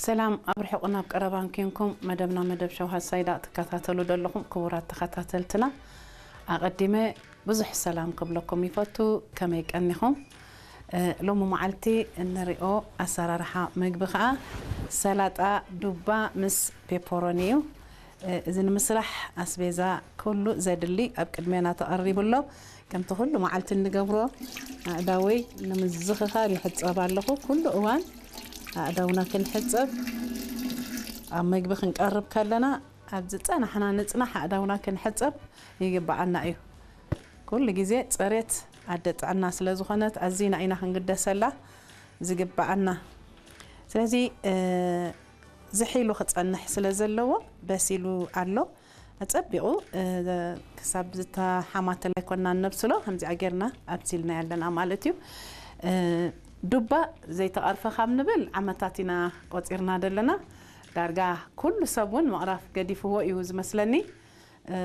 ሰላም ኣብ ርሑቕን ኣብ ቀረባን ኬንኩም መደብና መደብ ሸው ሃሳይዳ ትከታተሉ ዘለኹም ክቡራት ተኸታተልትና፣ ኣቐዲመ ብዙሕ ሰላም ክብለኩም ይፈቱ። ከመይ ቀኒኹም? እ፣ ሎሚ መዓልቲ እንሪኦ ኣሰራርሓ ምግቢ ኸዓ ሰላጣ ዱባ ምስ ፔፐሮኒ እዩ። እ፣ እዚ ንምስራሕ ኣስቤዛ ኩሉ ዘድሊ ኣብ ቅድሜና ተቐሪቡ ኣሎ። ከምቲ ኩሉ መዓልቲ እንገብሮ ኣእዳወይ ንምዝኽኻር ይሕጸብ ኣለኹ። ኩሉ እዋን ኣእዳውና ክንሕጸብ፣ ኣብ መግቢ ክንቀርብ ከለና ኣብ ዝጸናሕና ንጽናሕ ኣእዳውና ክንሕጸብ ይግብኣና እዩ። ኩሉ ግዜ ጽሬት ኣደ ጥዕና ስለ ዝኾነት ኣዚና ኢና ክንግደሰላ ዝግብኣና። ስለዚ፣ እ፣ ዝሒሉ ክጸንሕ ስለ ዘለዎ በሲሉ ኣሎ። ኣጸቢቑ፣ እ፣ ክሳብ ዝተሓማተለ ኣይኮናን ነብስሎ፣ ከምዚኣ ጌርና ኣብሲልና ያለና ማለት እዩ። እ፣ ዱባ ዘይተቐርፈ ካብ ንብል ዓመታት ኢና ቆጺርና ዘለና። ዳርጋ ኩሉ ሰብ እውን ምቕራፍ ገዲፍዎ እዩ ዝመስለኒ። እ፣